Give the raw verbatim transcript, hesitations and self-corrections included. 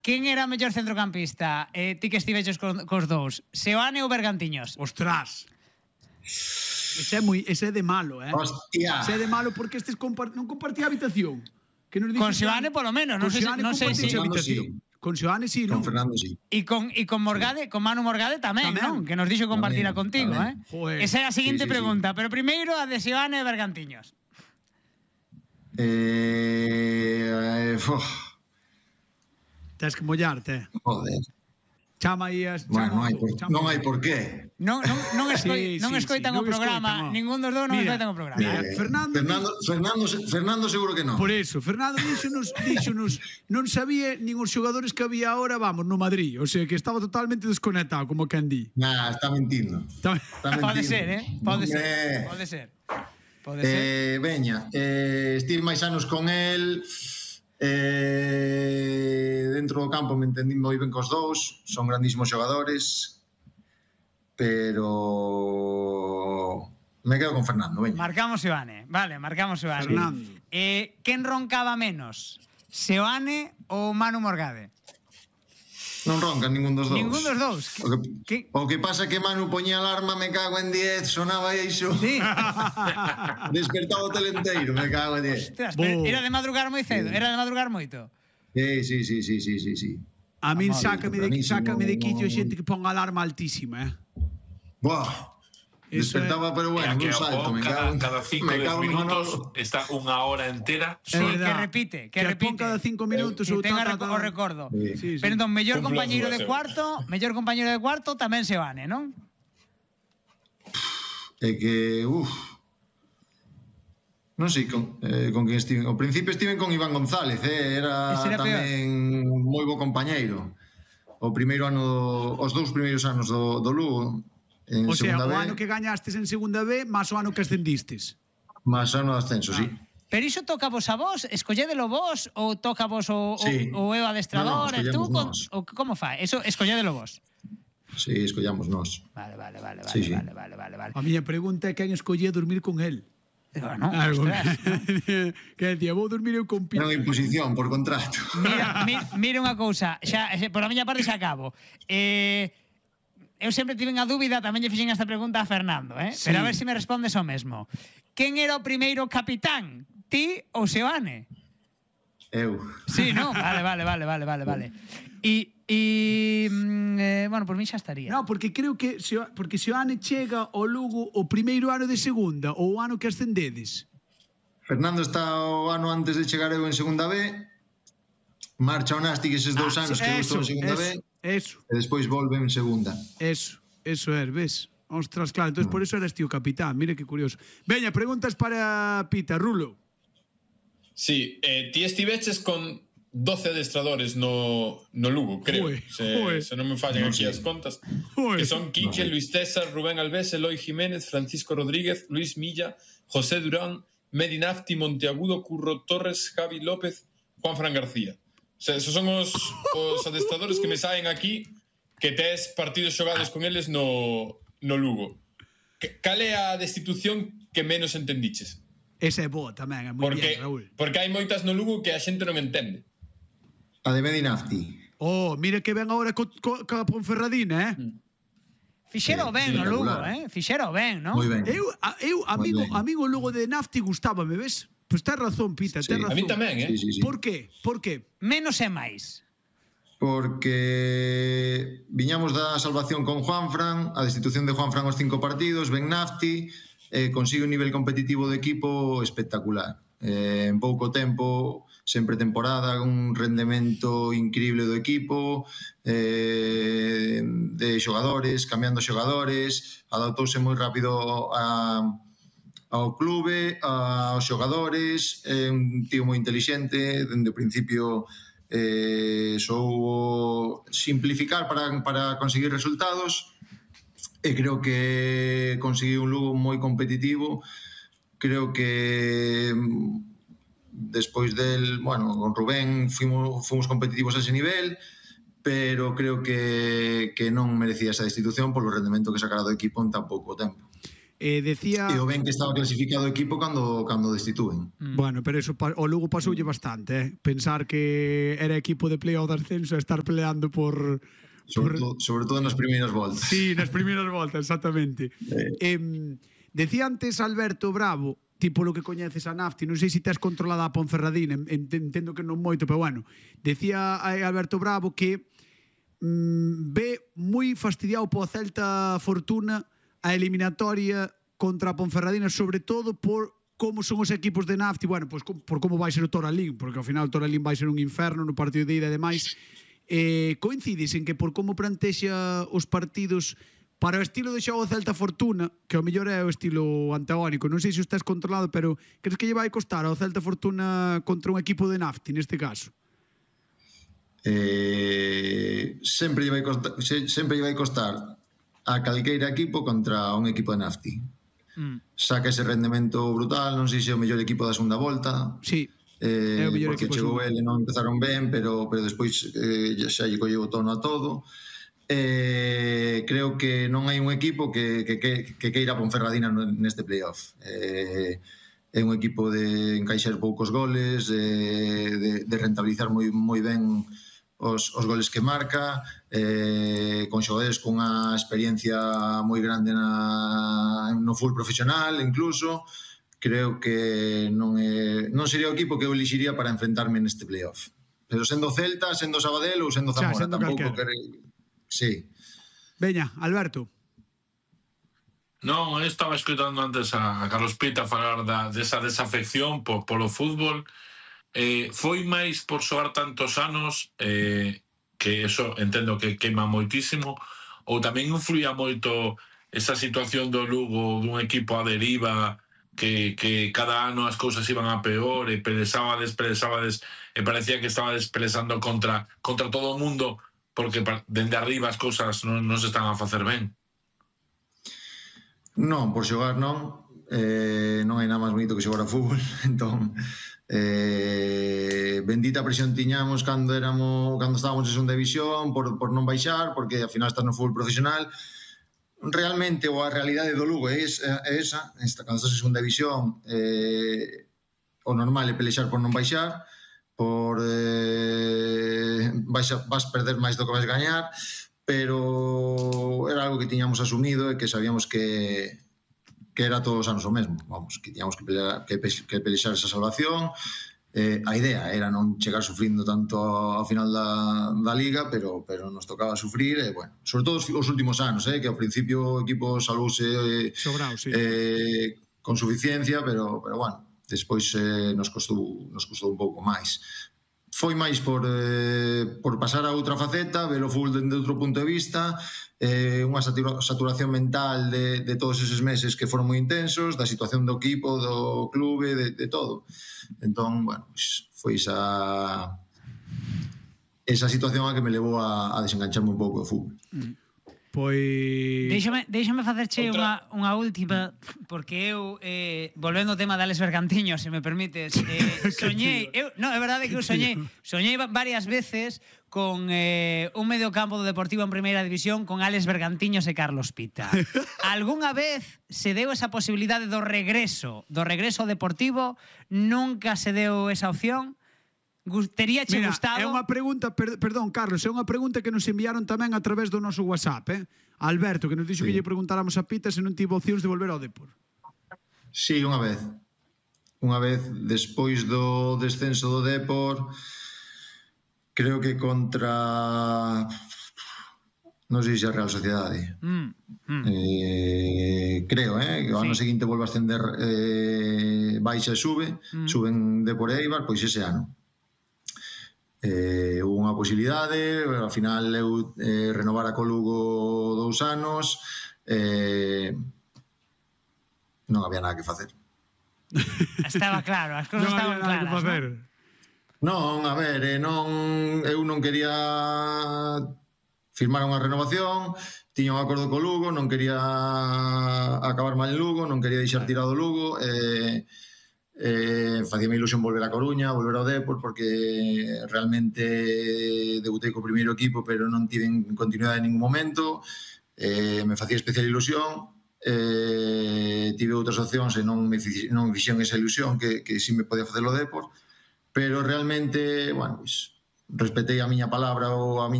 Quen era o mellor centrocampista? Eh, ti que estiveches cos, cos dous. Seoane ou Bergantiños? Ostras. Ese é, moi, ese é de malo, eh? Hostia. Ese é de malo porque estes compart... non compartía habitación. Que nos Con Seoane polo menos, non sei, non sei se... habitación. Con Seoane sí, Con non? Fernando sí. E con, e con Morgade, sí. Con Manu Morgade tamén, tamén. Non? Que nos dixo compartila contigo, tamén. Eh? Joder. Esa é a seguinte sí, sí, pregunta, sí. pero primeiro a de Seoane e Bergantiños. Eh... eh Tens que mollarte. Joder. Chama aí as... Bueno, non hai por, non hai por qué. Non, non, non, escoi, sí, non sí, escoitan sí, o programa, escoitan, ningún dos dous non mira, escoitan o programa. Mira, Eh, Fernando, Fernando, Fernando, Fernando seguro que non. Por eso, Fernando díxonos, díxonos, non sabía nin os xogadores que había ahora, vamos, no Madrid, o sea, que estaba totalmente desconectado, como quen di. Nah, está mentindo. Está... Está Pode mentindo. ser, eh? Pode ser, Eh, pode ser. Pode eh, ser. Veña, eh, estive máis anos con el, eh, dentro do campo me entendí moi ben cos dous, son grandísimos xogadores, pero me quedo con Fernando, veña. Marcamos Seoane, vale, marcamos Seoane. Fernando. Eh, quen roncaba menos? Seoane ou Manu Morgade? Non roncan ningún dos dous. Ningún dos dous. O que, Que... o que pasa que Manu poñía alarma, me cago en diez, sonaba iso. Sí. Despertaba o telenteiro, me cago en diez. Ostras, pero Bo. era de madrugar moi cedo, era de madrugar moito. Sí, sí, sí, sí, sí, sí, sí. A min Amable, sácame de, tempranísimo, sácame de quicio no. xente que ponga alarma altísima, eh? Buah. Eso Despertaba, pero bueno, É que un salto, o me cada, cago en cada cinco me dez cago en minutos Manolo. está unha hora entera. Sí, É que verdad. repite, que, Que repite. pon cada cinco minutos Que ou tenga ta, ta, ta. o recordo. Sí. Sí, sí. Pero entón, mellor Cumplo compañeiro as de dúas, cuarto, mellor compañeiro de cuarto tamén Seoane, non? É que, uff. Non sei con, eh, con quen estiven. Ao principio estiven con Iván González, eh, era Ese era tamén moi bo compañeiro. O primeiro ano, os dous primeiros anos do, do Lugo, en O sea, segunda o B, ano que gañastes en segunda B, máis o ano que ascendistes. máis ano de ascenso, sí. Pero iso toca vos a vos, escolledelo vos ou toca vos o, Sí. o, o eu adestrador, No, no, e tú con, escollemos nós. o como fa? Eso escolledelo vos. Sí, escollamos nós. Vale, vale, vale, vale, Sí, sí. vale, vale, vale, vale. A miña pregunta é quen escollía dormir con él. Bueno, Algo ostras, ¿no? que decía, vou dormir eu con Era Pita. unha imposición por contrato. Mira, mi, mira unha cousa, xa, xa, por a miña parte xa acabo. Eh, eu sempre tiven a dúbida, tamén lle fixen esta pregunta a Fernando, eh? Sí. Pero a ver se me respondes o mesmo. Quen era o primeiro capitán? Ti ou Seoane? Eu. Sí, non? Vale, vale, vale, vale, vale, vale. E, e mm, eh, bueno, por mí xa estaría. No, porque creo que se, porque se o Ane chega ao Lugo o primeiro ano de segunda ou o ano que ascendedes. Fernando está o ano antes de chegar eu en segunda B, marcha o Nástic eses dous Ah, anos sí, que eu eso, estou en segunda eso, B, eso, e despois volve en segunda. eso, eso é, ves? Ostras, claro, entonces por eso eres tío capitán, mire que curioso. Veña, preguntas para Pita, Rulo. Sí, eh, ti estiveches con doce adestradores no, no Lugo, creo. Ue, se, ue. se non me fallan Non aquí sei. as contas. Ue. Que son Quique, Luis César, Rubén Alves, Eloy Jiménez, Francisco Rodríguez, Luis Milla, José Durán, Medi Nafti, Monteagudo, Curro Torres, Javi López, Juan Fran García. O sea, esos son os, os adestradores que me saen aquí que tes partidos xogados con eles no, no Lugo. Que- Cal é a destitución que menos entendiches? Esa é boa tamén, é moi Porque, bien, Raúl. porque hai moitas no Lugo que a xente non entende. A de Medinafti. Oh, mira que ven agora co, co, co Ponferradina, eh? Fixero Sí, ben no Lugo, espectacular. eh? Fixero ben, non? Moi ben. Eu, a, eu Moi amigo, ben. amigo Lugo de Nafti gustábame, ves? Pois pues tes razón, Pita, Sí. tes razón. A mí tamén, eh? Sí, sí, sí. Por qué? Por qué? Menos e máis. Porque viñamos da salvación con Juanfran, a destitución de Juanfran os cinco partidos, Ben Nafti, eh, consigue un nivel competitivo do equipo espectacular. Eh, en pouco tempo, sempre temporada, un rendemento increíble do equipo, eh, de xogadores, cambiando xogadores, adaptouse moi rápido a, ao clube, aos xogadores, é un tío moi inteligente, dende o principio eh, soubo simplificar para, para conseguir resultados e creo que conseguiu un Lugo moi competitivo. Creo que mm, despois del, bueno, con Rubén fomos, fomos competitivos a ese nivel, pero creo que, que non merecía esa destitución polo rendemento que sacara do equipo en tan pouco tempo. Eh, decía... E o ben que estaba clasificado o equipo cando, cando destituen. Mm. Bueno, pero eso o Lugo pasoulle bastante, eh? Pensar que era equipo de playoff de ascenso e estar peleando por... Sobre, por... todo, sobre todo nas primeiras voltas. Sí, nas primeiras voltas, exactamente. Eh. Eh, decía antes Alberto Bravo, tipo lo que coñeces a Nafti, non sei se tes controlada a Ponferradina, entendo que non moito, pero bueno, decía Alberto Bravo que mm, ve moi fastidiado po Celta Fortuna a eliminatoria contra a Ponferradina, sobre todo por como son os equipos de Nafti, bueno, pues por como vai ser o Toralín, porque ao final o Toralín vai ser un inferno no partido de ida e demais. Eh, coincides en que por como plantexa os partidos para o estilo de xogo Celta Fortuna, que ao mellor é o estilo antagónico, non sei se o estás controlado, pero crees que lle vai costar ao Celta Fortuna contra un equipo de Nafti neste caso? Eh, sempre lle vai costar, sempre lle vai costar a calqueira equipo contra un equipo de Nafti. Mm. Saca ese rendemento brutal, non sei se é o mellor equipo da segunda volta. Sí. Eh, porque chegou ele, non empezaron ben, pero, pero despois eh, xa lle colleu o tono a todo. Eh, creo que non hai un equipo que, que, que, que queira Ponferradina neste playoff. Eh, é un equipo de encaixar poucos goles, eh, de, de rentabilizar moi, moi ben os, os goles que marca, eh, con xogadores con unha experiencia moi grande na, no full profesional incluso. Creo que non é, non sería o equipo que eu elixiría para enfrentarme neste playoff. Pero sendo Celta, sendo Sabadell ou sendo Zamora, xa, sendo tampouco que... Sí. Veña, Alberto. Non, eu estaba escutando antes a Carlos Pita falar da, desa desafección por, polo fútbol. Eh, foi máis por xogar tantos anos, eh, que eso entendo que queima moitísimo, ou tamén influía moito esa situación do Lugo, dun equipo a deriva, que, que cada ano as cousas iban a peor e pelexabades, pelexabades e parecía que estabades pelexando contra, contra todo o mundo porque dende arriba as cousas non, non se están a facer ben. Non, por xogar non, eh, non hai nada máis bonito que xogar a fútbol. Entón, eh, bendita presión tiñamos cando éramos cando estábamos en segunda división por, por non baixar, porque ao final estás no fútbol profesional. Realmente, ou a realidade do Lugo é esa, é esa. Cando estás en segunda división, eh, o normal é pelexar por non baixar, por eh, vais, a, vas perder máis do que vais gañar, pero era algo que tiñamos asumido e que sabíamos que que era todos os anos o mesmo, vamos, que tiñamos que pelear, que, que pelexar esa salvación. Eh, a idea era non chegar sufrindo tanto ao final da, da Liga, pero, pero nos tocaba sufrir, e, bueno, sobre todo os, os últimos anos, eh, que ao principio o equipo salvouse eh, Sobrao, sí. eh, con suficiencia, pero, pero bueno, despois eh, nos costou nos costou un pouco máis. Foi máis por, eh, por pasar a outra faceta, ver o fútbol dende outro punto de vista, eh, unha saturación mental de, de todos eses meses que foron moi intensos, da situación do equipo, do clube, de, de todo. Entón, bueno, pues, foi esa esa situación a que me levou a, a desengancharme un pouco do fútbol. Mm. Pois... Déixame, déixame facerche unha, unha última, porque eu, eh, volvendo ao tema de Alex Bergantiño, se me permites, eh, soñei, eu, no, é verdade que eu soñei, soñei varias veces con eh, un mediocampo do Deportivo en Primeira División con Alex Bergantiños e Carlos Pita. Algúnha vez se deu esa posibilidade do regreso, do regreso ao Deportivo? Nunca se deu esa opción? Tería che gustado? É unha pregunta, per, perdón, Carlos, é unha pregunta que nos enviaron tamén a través do noso WhatsApp, eh? Alberto, que nos dixo sí. que lle preguntáramos a Pita se non tivo opcións de volver ao Depor. Sí, unha vez. Unha vez, despois do descenso do Depor, creo que contra... non sei se a Real Sociedade. Mm, mm. Eh, creo, eh? Que o ano sí. seguinte volve a ascender, eh, baixa e sube, mm. suben Depor e Eibar, pois ese ano. Eh, hubo unha posibilidade, ao final eu eh, renovara co Lugo dous anos, eh, non había nada que facer. Estaba claro, as cousas estaban claras, non? Non, a ver, eh, non, eu non quería firmar unha renovación, tiña un acordo co Lugo, non quería acabar mal en Lugo, non quería deixar tirado o Lugo, e... Eh, Eh, facíame ilusión volver a Coruña, volver ao Depor, porque realmente debutei co primeiro equipo, pero non tive continuidade en ningún momento, eh, me facía especial ilusión, eh, tive outras opcións e non me, non me fixeron esa ilusión que, que si me podía facer o Depor, pero realmente, bueno, pues, respetei a miña palabra ou a miña